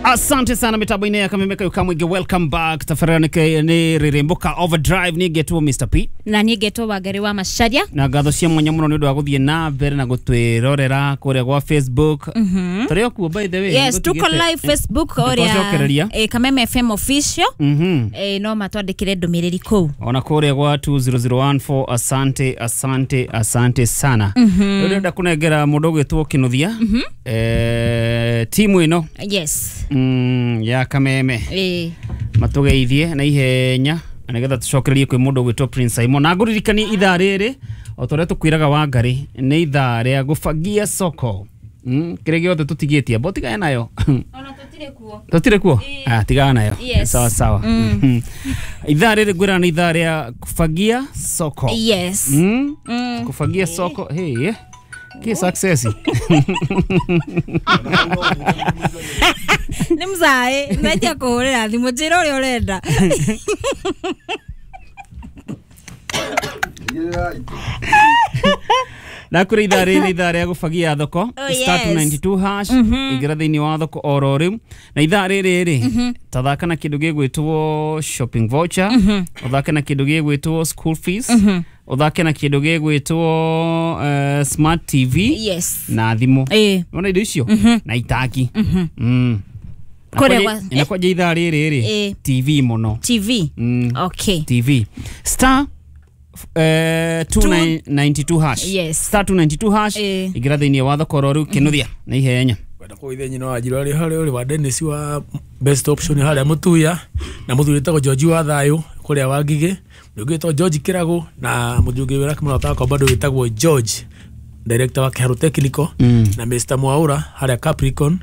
Asante sana mitambo-inĩ ya Kameme Kayo Kamwingi. Welcome back. Tabarĩra nĩ rĩrĩmbũka overdrive. Niĩ ngetwo Mr P. Na niĩ ngetwo Wangari wa Macharia. Na ngatho cia mwanya mũno nĩ ũndũ wa gũthiĩ na mbere na gũtwĩrorera kũrĩa gwa Facebook. Tũrĩ o kuo by the way. Yes, tuko live Facebook Nĩtwacokereria. ũrĩa Kameme FM official. No matwandĩkĩre ndũmĩrĩri kũu. Ona kũrĩa gwa 20014. Asante, asante, asante sana. Rĩu ndĩrenda kũnengera mũndũ ũgwĩtwo Kĩnuthia, timu ĩno ya Kameme matũgeithie na ihenya na nĩgetha tũcokererie kwĩ mũndũ ũgwĩtwo Prince Simon. Na ngũririkanie ithaa rĩrĩ o ta ũrĩa tũkwĩraga Wangari nĩ ithaa rĩa gũbangia soko. Kĩrĩa gĩothe tũtigĩtie bo tigane nayo. Ona tũtirĩ kuo. Tũtirĩ kuo? Ah, tigana nayo. Yes. Sawa sawa. Ithaa rĩrĩ ngwĩra nĩ ithaa rĩa kufagia soko. Yes. Kufagia soko. Hey, ki success. Nĩ mzae ndetia kũhũrĩra thimũ njĩra ũrĩa ũrenda. Na kũrĩ ithaa rĩrĩ ithaa rĩa gũbagia thoko. Oh, Star yes. 292 hash. Ingĩra thĩinĩ wa thoko oro rĩu. Na ithaa rĩrĩ rĩ tathaka na kĩndũ gĩgwĩtwo shopping voucher, ũthake na kĩndũ gĩgwĩtwo school fees, ũthake na kĩndũ gĩgwĩtwo smart TV na thimũ. Wona indo icio na itaki. Kũrĩa gwa- Na kwanja ithaa rĩrĩ rĩ TV mũno. TV. Okay. TV star 292 hash. Yes. Star 292 hash. Ingĩra thĩinĩ wa thoko oro rĩu Kĩnuthia na ihenya. Kwenda kũgeithia nyina wa Njirũ arĩ harĩa ũrĩ wa Dennis wa best option harĩa Mũtuya, na mũthuri wĩtagwo George wa Thayũ kũrĩa wa Ngigĩ, mũthuri wĩtagwo George Kĩragũ, na mũthuri ũngĩ wĩra kĩmũrata wakwa bado wĩtagwo George, director wa Kĩharũ Technical, na Mr Mwaura harĩa Capricorn,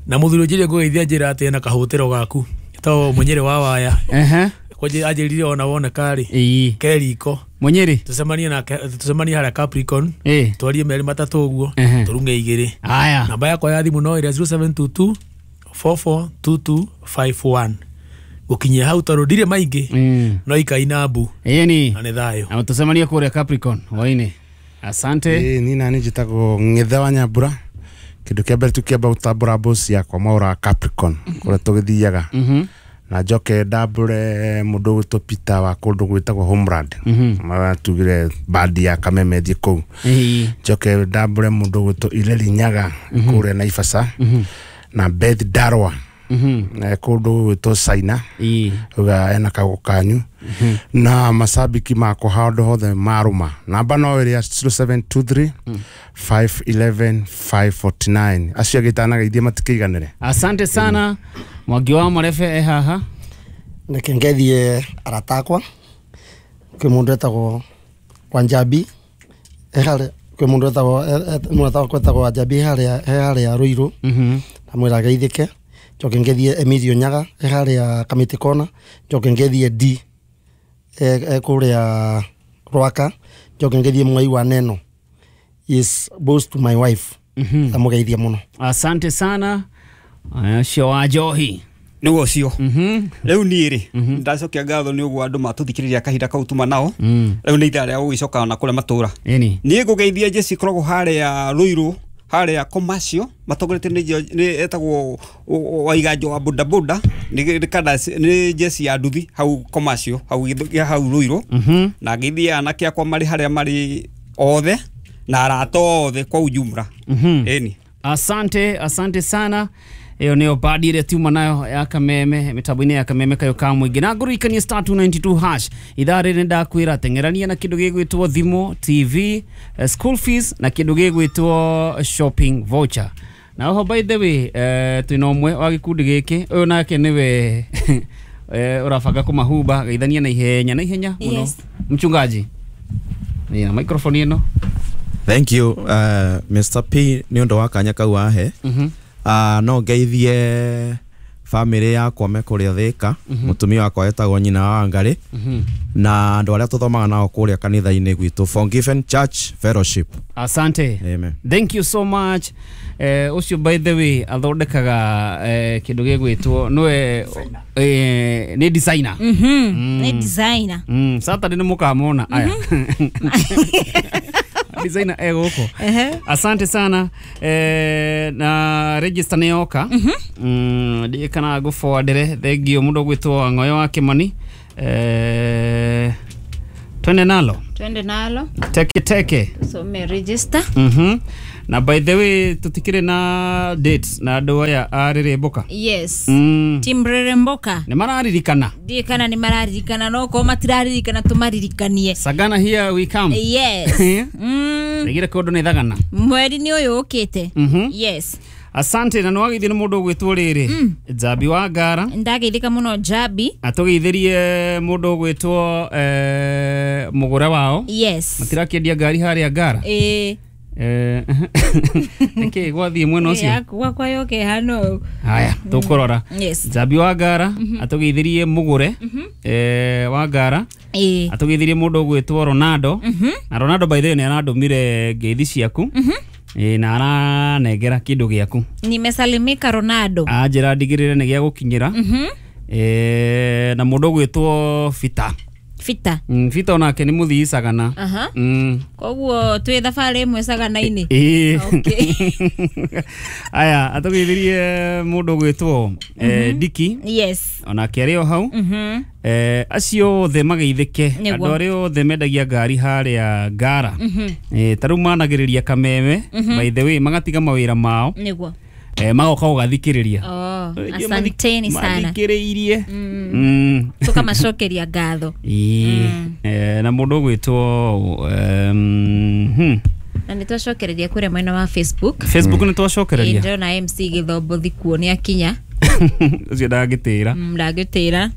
na mũthuri ũnjĩrire ngũgeithia njĩra atĩ ena kahũtĩro gaku to Mũnyĩrĩ wa Waya. Kwanjĩ anjĩrire ona woneka rĩ ke riko Mũnyĩrĩ tũcemanie nake, tũcemanie harĩa Capricorn, twarie merĩ matatũ ũguo, tũrunge igĩrĩ. Aya. Namba yakwa ya thimũ no ĩrĩa 0722 442251. Gũkinyia hau tondũ ndirĩ maingĩ, no ikai na mbu. Ĩni. Na nĩ thayũ. Na tũcemanie kũrĩa Capricorn hwainĩ. Asante. Ni nani njĩtagwo Ng'ethe wa Nyambura. Kĩndũ kĩa mbere tũkĩamba gũtambũra boss yakwa Mwaura Capricorn kũrĩa tũgĩthiaga. Na njoke ndambũre mũndũ ũgwĩtwo Peter wa kũndũ gwĩtagwo Homeland. Maratugire bandi ya Kameme thiĩ kũu. Njoke ndambũre mũndũ ũgwĩtwo Ireri Nyaga kũrĩa Naivasha. Na Beth Darwa kũndũ gwĩtwo China. Uga ena kago kanyu. Na masabiki makwa handũ hothe marũma. Namba no ĩrĩa 0723 511 549. Acio angĩ itanagaithie matikĩiganĩre. Asante sana. Mwangi wa Marebe e haha. Reke ngethie arata akwa. Kwĩ mũndũ etagwo Wanjambi e harĩa, kwĩ mũndũ etagwo mũrata wakwa etagwo Wanjambi e harĩa Ruiru. Ndamwĩra ageithĩke. Njoke ngethie Emilio Nyaga e harĩa Kamĩtĩ Kona. Njoke ngethie D e kũrĩa Rwaka. Njoke ngethie Mwai wa Neno. Is boss to my wife. Ndamũgeithia mũno. Asante sana. Ũcio wa Njohi. Nĩguo ũcio. Rĩu niĩ rĩ ndacokia ngatho nĩ ũguo andũ matũthikĩrĩria kahinda kau tuma nao. Rĩu nĩ ithaa rĩa gũgĩcoka na kũrĩa matũra. Niĩ ngũgeithia Jesse koragwo harĩa Ruiru, harĩa commercial matongoretio nĩ etagwo Waiganjo wa bodaboda, nĩ Jesse ya nduthi hau commercial hau hau Ruiru. Na ngeithia anake akwa marĩ harĩa marĩ othe na arata othe kwa ujumla. Ĩni. Asante, asante sana. Ĩyo nĩyo bandi ĩrĩa tiuma nayo ya Kameme mĩtambo-inĩ ya Kameme Kayo ka Mũingĩ. Na ngũririkanie star 292 hash. Ithaa rĩrĩ nĩndakwĩra teng'erania na kĩndũ gĩgwĩtwo thimũ, TV, school fees na kĩndũ gĩgwĩtwo shopping voucher. Na oho by the way, twĩna ũmwe wa gĩkundi gĩkĩ, ũyũ nake nĩwe ũrabanga kũmahuba geithania na ihenya na ihenya mũno. Yes. Mchungaji. Nĩ na microphone ĩno. Thank you, Mr P nĩ ũndũ wa kanya kau wahe. No ngeithie family yakwa me kũrĩa Thĩka, mũtumia wakwa etagwo nyina wa Wangari, na andũ arĩa tũthomaga nao kũrĩa kanitha-inĩ gwitũ Forgiven Church Fellowship. Asante. Amen. Thank you so much. Ũcio by the way athondekaga kĩndũ gĩgwĩtwo nĩwe nĩ designer. Nĩ designer. Saturday nĩ mũkamona aya. Designer egũkũ. Asante sana na register nĩ yoka. Ndiĩ kana ngũforwardĩre. Thengio mũndũ ũgwĩtwo Ng'oyo wa Kĩmani. Twende nalo. Twende nalo. Teke teke. Tusome register. Na by the way tutikire na dates na andũ aya a Rĩrĩmbũka. Yes. Team Rĩrĩmbũka. Nĩ mararirikana. Ndiĩ kana nĩ mararirikana no korwo matiraririkana tũmaririkanie. Sagana here we come. Yes. Regire kũndũ nĩ thagana. Mweri nĩ ũyũ ũkĩte. Yes. Asante na nĩwageithio nĩ mũndũ ũgwĩtwo rĩrĩ Njambi wa Ngara. Ndageithĩka mũno Njambi. Atũgeithĩrie mũndũ ũgwĩtwo mũgũre wao. Yes. Matirakĩendia ngari harĩa Ngara. Ĩĩ. Nĩkĩ gwathiĩ mwena ũcio? Gwakwa yoke hano. Haya, tũkũrora. Yes. Njambi wa Ngara atũgeithirie mũgũre wa Ngara. Atũgeithirie mũndũ ũgwĩtwo Ronaldo. Na Ronaldo by the way nĩ arandũmire ngeithi ciaku. Na aranengera kĩndũ gĩaku. Nimesalimika Ronaldo. Anjĩra ndigĩrĩre nĩ gĩa gũkinyĩra. Na mũndũ ũgwĩtwo Fita. Fita. Fita onake nĩ mũthii Sagana. Koguo twĩ thabarĩ ĩmwe Sagana-inĩ. Okay. Aya, atũgeithirie mũndũ ũgwĩtwo Diki. Yes. Onake arĩ o hau. Acio othe mageithĩke. Andũ arĩa othe mendagia ngari harĩa Ngara. Ta rĩu managĩrĩria Kameme. By the way magatiga mawĩra mao. Nĩguo. Magoka gũgathikĩrĩria. Asanteni sana. Mathikĩrĩirie. Tũkamacokeria ngatho. Na mũndũ ũgwĩtwo Na nĩ twacokereria kũrĩa mwena wa Facebook. Facebook nĩ twacokereria. Ndĩrona MC Gĩthombo kuo nĩ akinya. Ũcio ndangĩtĩra. Ndangĩtĩra.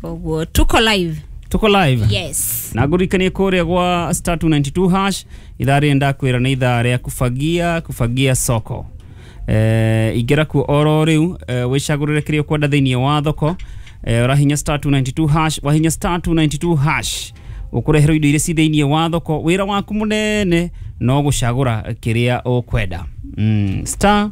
Koguo tuko live. Tuko live. Yes. Na ngũririkanie kũrĩa gwa star 292 hash ithaa rĩrĩ ndakwĩra nĩ ithaa rĩa kufagia soko. Ingĩra kuo oro rĩu wĩcagũrĩre kĩrĩa ũkwenda thĩinĩ wa thoko. Ũrahinya star 292 hash, wahinya star 292 hash ũkũreherwo indo iria ci thĩinĩ wa thoko. Wĩra waku mũnene no gũcagũra kĩrĩa ũkwenda. Star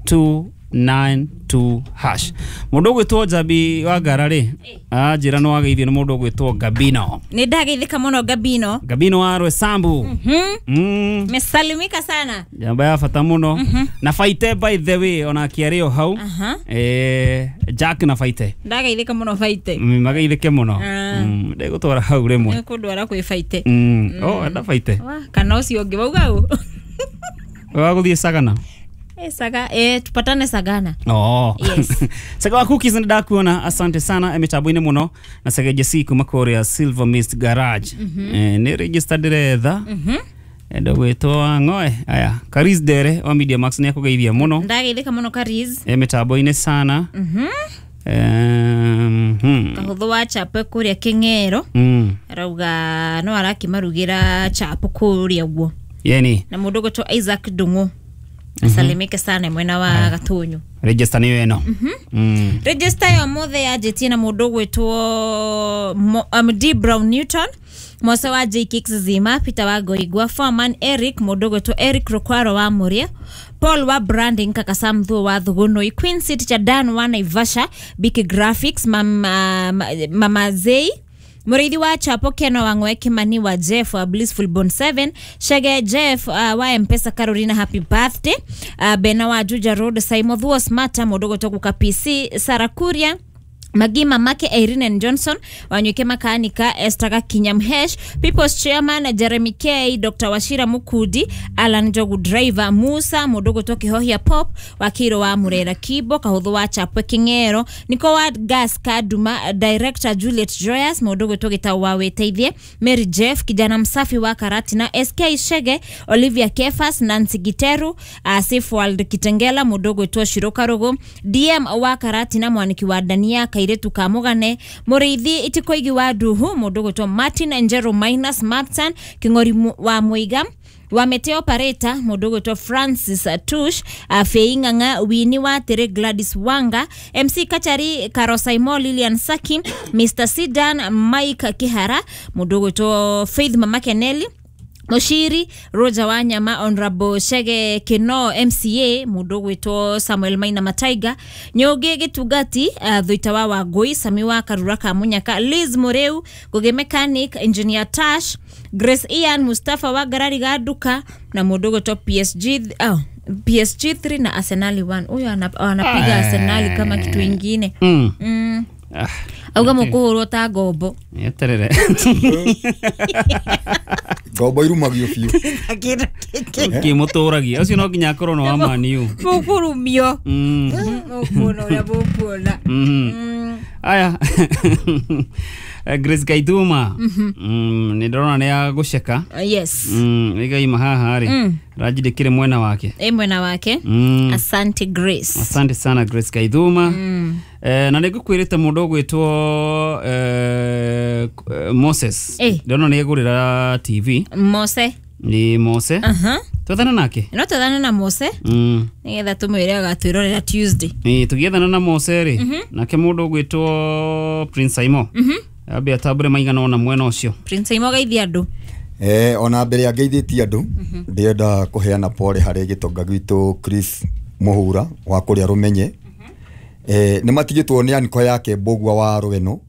292 hash. Mũndũ ũgwĩtwo Njambi wa Ngara rĩ, anjĩra nĩ wageithio nĩ mũndũ ũgwĩtwo Gabino. Nĩ ndageithĩka mũno Gabino. Gabino wa Rwesambu. Mesalimika sana. Jamba ya bata mũno. Na Faite by the way onake arĩ o hau. Jack na Faite. Ndageithĩka mũno Faite. Mageithĩke mũno. Ndegũtwara hau rĩmwe. Nĩkũndwara kwĩ Faite. Oh, enda Faite. Kana ũcio ũngĩ wauga ũ? Wa gũthiĩ Sagana. Saga, tupatane Sagana. Yes. Saga wa cookies nĩ ndakuona, asante sana mĩtambo-inĩ mũno na Saga Jesse kuma kũrĩa Silver Mist Garage. Nĩ register ndĩretha. Ndũgwĩtwo Ng'oe. Aya, Karis Dere wa Media Max nĩ akũgeithia mũno. Ndageithĩka mũno Karis. Mĩtambo-inĩ sana. Kahũthũ wa chapo kũrĩa Kĩng'ero. Arauga no arakĩmarugĩra chapo kũrĩa ũguo. Yeni. Na mũndũ ũgwĩtwo Isaac Ndung'u. Asalimike sana mwena wa Gatunyu. Register nĩyo ĩno. Register ya mothe yanjĩtie na mũndũ ũgwĩtwo D Brown Newton, Mose wa J Kicks Zima, Peter wa Goigwa, Foreman Eric, mũndũ ũgwĩtwo Eric Rokwaro wa Mũrĩa, Paul wa Branding, Kaka Sam Thuo wa Thugunui, Queen City cha Dan wa Naivasha, Biki Graphics, Mama Zei, Mũrĩithi wa Chapo Keno wa Ng'oe Kimani wa Jeff wa Blissful Bone 7, Shege Jeff wa Mpesa Carolina happy birthday, Bena wa Juja Road, Saimo Thuo Smarta, mũndũ ũgwĩtwo Guka PC, Sarah Kuria, Magima Make Irene Johnson, Wanyuke Makanika, Esther Gakinya Mhesh, People's Chairman Jeremy K, Dr. Washira Mukudi, Alan Jogu Driver, Musa Mudogo Toki Hohia Pop, Wakiro wa Murera Kibo, Kahuthu wa Chapwe Kingero, Niko wa Gas Kaduma, Director Juliet Joyas, Mudogo Toki Tawa Weteithie, Mary Jeff, Kijana Msafi wa Karatina, SK Shege, Olivia Kefas, Nancy Giteru, Safe World Kitengela, Mudogo Toa Shiroka Rogo, DM wa Karatina, Mwaniki wa Dania, Kairetu Kamugane, Muriithi Itikoigi wa Duhu, Mudogo Toa Martin Njero Minus Martin, Kingori wa Muiga, wa Meteo Pareta, Mudogo to Francis Tush, Feinganga, Wini wa Tere, Gladys Wanga, MC Kachari, Karosaimo, Lilian Saki, Mr. Sidan, Mike Kihara, Mudogo to Faith Mama Keneli, Mushiri Roger Wanyama, Honorable Shege Kino MCA, mundu gwitwo Samuel Maina Mataiga, Nyugi Gitugati, Thuita wa Wangui, Sami wa Karura ka Munyaka, Liz Mureu, Ngugi Mechanic, Engineer Tash, Grace Ian, Mustafa wa Garari Gaduka na mundu gwitwo PSG PSG 3 na Arsenal 1. Huyo anapiga Arsenal kama kitu ingine. Auga mukuhurwo ta ngombo. Eterere. Ngombo irumagio biũ. Kĩmũtũragia ũcio no nginya akorwo no wa maniu. Mũkũrumio. Mũkuona ũrĩa mũkuona. Aya. Grace Gaithuma. Nĩ ndĩrona nĩ agũceka. Yes. Ĩgaima haha rĩ. Ranjindĩkĩre mwena wake. Ĩ mwena wake. Asante Grace. Asante sana Grace Gaithuma. Na nĩ ngũkwĩrĩte mũndũ ũgwĩtwo Moses. Ndĩrona nĩ egũrĩra TV. Mose. Nĩ Mose. Twethana nake? No twethane na Mose. Nĩgetha tũmwĩre agatwĩrorera Tuesday. Ĩ tũgĩethana na Mose rĩ. Nake mũndũ ũgwĩtwo Prince Aimo. Ambe atambũre maigana ona mwena ũcio. Prince Aimo geithia andũ. Ona mbere ya ngeithĩtie andũ ndĩrenda kũheana pole harĩ gĩtonga gwitũ Chris Mũhura wa kũrĩa Rũmenye. Nĩ matigĩtwo nĩ aniko yake Mbũgua wa Rweno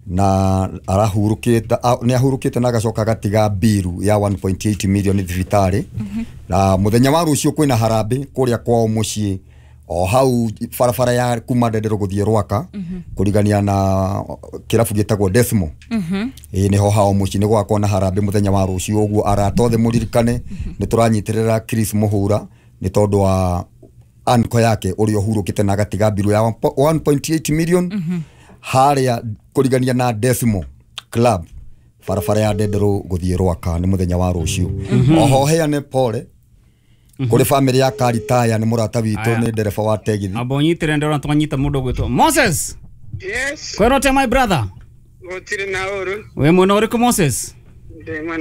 na arahurũkĩte, nĩ ahurũkĩte na agacoka agatiga biru ya 1.8 million thibitarĩ. Na mũthenya wa rũciũ kwĩna harambĩ kũrĩa kwao mũciĩ o hau barabara ya kuma Ndendero gũthiĩ Rwaka kũrigania na kĩrabu gĩtagwo Desmo. Nĩho hao mũciĩ nĩ gũgakorwo na harambĩ mũthenya wa rũciũ, ũguo arata othe mũririkane nĩ tũranyitĩrĩra Chris Mũhura nĩ tondũ wa anko yake ũrĩa ũhurũkĩte na agatiga biru ya 1.8 million harĩa kũrigania na Desmo Club barabara ya Ndendero gũthiĩ Rwaka nĩ mũthenya wa rũciũ. Oho heane pole kũrĩ family ya Karitaya, nĩ mũrata witũ, nĩ ndereba wa tegithi. Amba ũnyitĩre, ndĩrona twanyita mũndũ ũgwĩtwo Moses. Yes. Kwĩrote my brother. Gũtirĩ na ũru. Wĩ mwena ũrĩkũ Moses? Ndĩ mwena